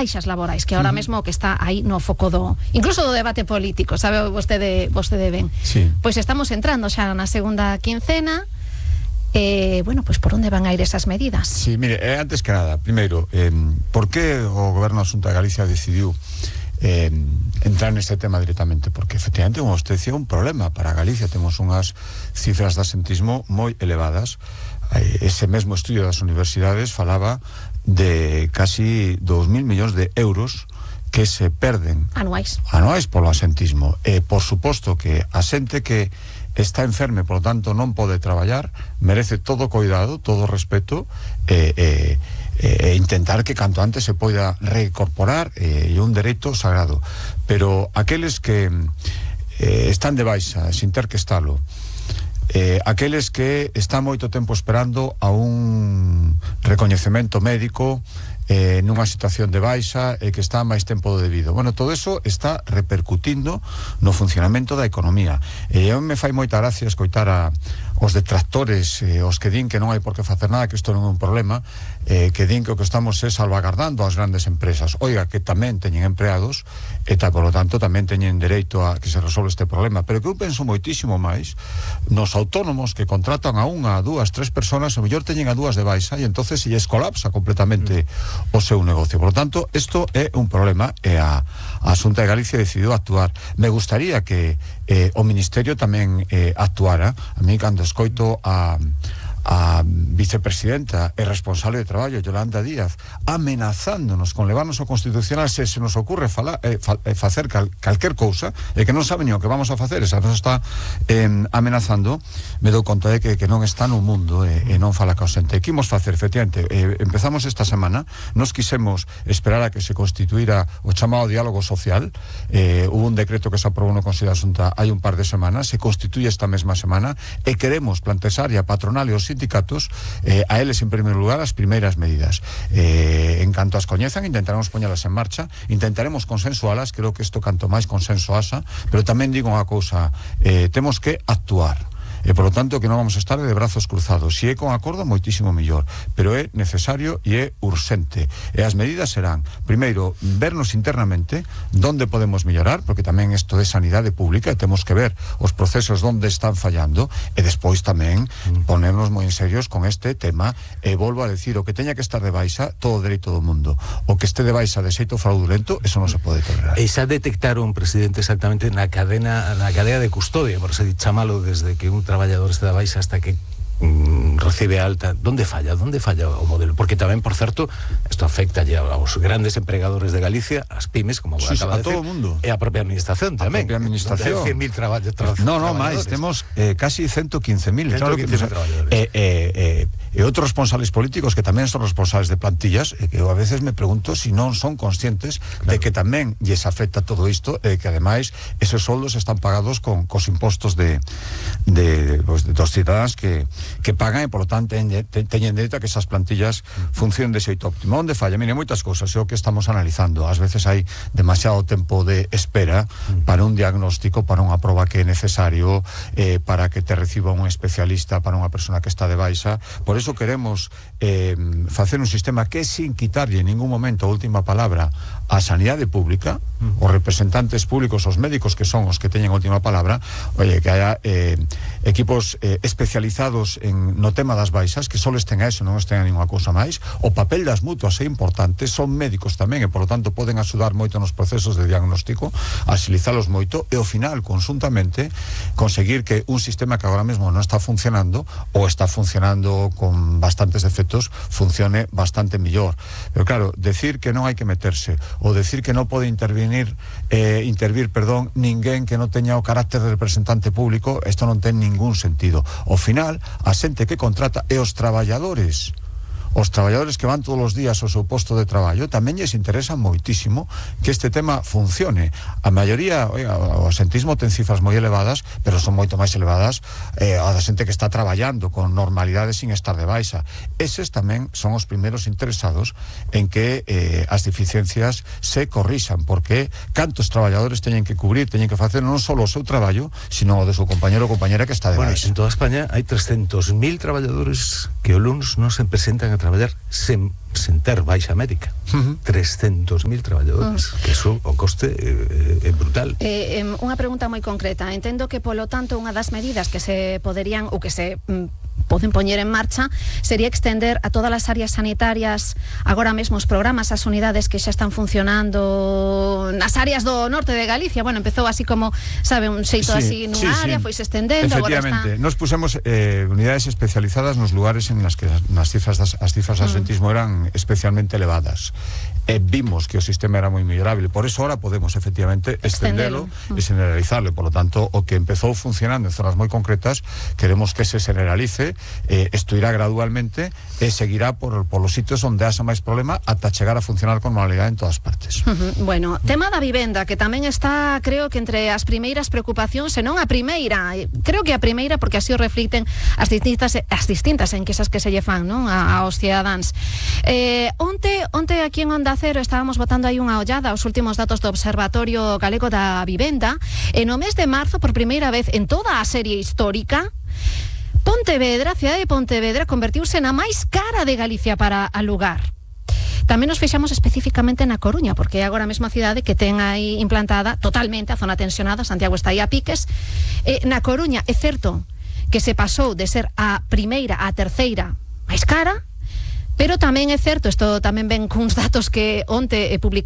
baixas laborais, que ahora mesmo que está aí no foco incluso do debate político, sabe vostede ben. Sí. Pois estamos entrando xa na segunda quincena. Bueno, pues por onde van a ir esas medidas? Sí, mire, antes que nada, primeiro, por que o Goberno da Xunta de Galicia decidiu entrar neste tema directamente? Porque efectivamente, como usted decía, un problema para Galicia. Temos unhas cifras de asentismo moi elevadas. Ese mesmo estudio das universidades falaba de casi 2.000 millóns de euros que se perden anuais polo asentismo. Por suposto que a xente que está enferme, por lo tanto non pode traballar, merece todo cuidado, todo respeto, intentar que canto antes se poida reincorporar, e un dereito sagrado. Pero aqueles que están de baixa sin ter que estalo, aqueles que están moito tempo esperando a un recoñecemento médico, nunha situación de baixa e que está máis tempo do debido. Bueno, todo eso está repercutindo no funcionamento da economía. Eu me fai moita gracia escoitar os detractores, os que din que non hai por que facer nada, que isto non é un problema, que din que o que estamos é salvagardando as grandes empresas. Oiga, que tamén teñen empleados e por lo tanto tamén teñen dereito a que se resolve este problema. Pero que eu penso moitísimo máis nos autónomos que contratan a unha, a dúas, tres personas, o mellor teñen a dúas de baixa e entonces se lles colapsa completamente o seu negocio. Por lo tanto, isto é un problema e a Xunta de Galicia decidiu actuar. Me gustaría que o Ministerio tamén actuara. A mí, cando escoito a vicepresidenta e responsable de traballo, Yolanda Díaz, amenazándonos con levarnos ao Constitucional se nos ocurre facer calquer cousa, e que non sabe ni o que vamos a facer, esa nos está amenazando, me dou conta de que non está no mundo e non fala ca xente. Que imos facer, efectivamente, empezamos esta semana, nos quisemos esperar a que se constituíra o chamado diálogo social. Hubo un decreto que se aprobou no Consello da Xunta hai un par de semanas, se constituye esta mesma semana, e queremos plantexar a patronal e os sindicatos a eles en primeiro lugar as primeiras medidas. En canto as coñezan, intentaremos poñelas en marcha, intentaremos consensualas. Creo que isto canto máis consenso haxa, pero tamén digo unha cousa, temos que actuar. E por lo tanto que non vamos a estar de brazos cruzados. Se é con acordo, moitísimo mellor, pero é necesario e é urxente. E as medidas serán, primeiro, vernos internamente donde podemos mellorar, porque tamén isto é sanidade pública e temos que ver os procesos donde están fallando, e despois tamén ponernos moi en serios con este tema. E volvo a decir, o que teña que estar de baixa, todo o dereito do mundo. O que este de baixa de xeito fraudulento, eso non se pode tolerar. E xa detectaron, presidente, exactamente na cadea de custodia, por se chamalo, desde que un traballador este da baixa hasta que recibe alta, ¿dónde falla o modelo? Porque tamén, por certo, isto afecta ya aos grandes empregadores de Galicia, as pymes, como acaba de decir, e a propia administración tamén. A propia administración. 100.000 traballadores. No, máis, temos casi 115.000. Claro que traballadores. E outros responsables políticos que tamén son responsables de plantillas, que eu a veces me pregunto se non son conscientes de que tamén lles afecta todo isto, e que ademais esos soldos están pagados cos impostos dos cidadáns que pagan, e por lo tanto teñen dereito a que esas plantillas funcionen de xeito óptimo. Onde falla? Mire, moitas cousas, é o que estamos analizando. Ás veces hai demasiado tempo de espera para un diagnóstico, para unha proba que é necesario, para que te reciba un especialista, para unha persona que está de baixa. Por eso queremos facer un sistema que, sin quitarlle en ningún momento a última palabra a sanidade pública, os representantes públicos, os médicos que son os que teñen a última palabra, que haya equipos especializados no tema das baixas, que só estén a eso, non estén a ninguna cousa máis. O papel das mutuas é importante, son médicos tamén, e por lo tanto poden axudar moito nos procesos de diagnóstico, axilizalos moito, e ao final, conjuntamente, conseguir que un sistema que agora mesmo non está funcionando, ou está funcionando con bastantes defectos, funcione bastante millor. Pero claro, decir que non hai que meterse, ou decir que non pode intervir ninguén que non teña o carácter de representante público, isto non ten ningún sentido. Ao final, a xente que contrata e os traballadores que van todos os días ao seu posto de traballo tamén lles interesa moitísimo que este tema funcione. A maioría, o asentismo ten cifras moi elevadas, pero son moito máis elevadas a da xente que está traballando con normalidade sin estar de baixa. Eses tamén son os primeiros interesados en que as deficiencias se corrixan, porque cantos traballadores teñen que cubrir, teñen que facer non só o seu traballo, sino o de seu compañero ou compañera que está de baixa. En toda España hai 300.000 traballadores que o luns non se presentan a traballar sen ter baixa médica. 300.000 traballadores, que eso, o coste é brutal. Unha pregunta moi concreta. Entendo que, polo tanto, unha das medidas que se poderían ou que se poden poñer en marcha sería extender a todas as áreas sanitarias agora mesmo os programas, as unidades que xa están funcionando nas áreas do norte de Galicia. Bueno, empezou así como, sabe, un xeito así nunha área, foi se estendendo. Efectivamente, nos pusemos unidades especializadas nos lugares en las que as cifras de absentismo eran especialmente elevadas. Vimos que o sistema era moi mellorable, por eso ahora podemos efectivamente extendelo e generalizarlo. Por lo tanto, o que empezou funcionando en zonas moi concretas, queremos que se generalice, isto irá gradualmente e seguirá por los sitios onde haxa máis problema ata chegar a funcionar con normalidade en todas partes. Bueno, tema da vivenda, que tamén está, creo que entre as primeiras preocupacións, senón a primeira, creo que a primeira, porque así o reflicten as distintas enquisas que se lle fan, non, aos cidadáns. Onte aquí en Onda Cero estábamos botando aí unha ollada aos últimos datos do Observatorio Galego da Vivenda, e no mes de marzo, por primeira vez en toda a serie histórica, Pontevedra, a cidade de Pontevedra, convertiuse na máis cara de Galicia para alugar. Tamén nos fixamos especificamente na Coruña, porque é agora mesmo a cidade que ten aí implantada totalmente a zona tensionada. Santiago está aí a piques. Na Coruña é certo que se pasou de ser a primeira á terceira máis cara, pero tamén é certo, isto tamén ven cuns datos que onte publicou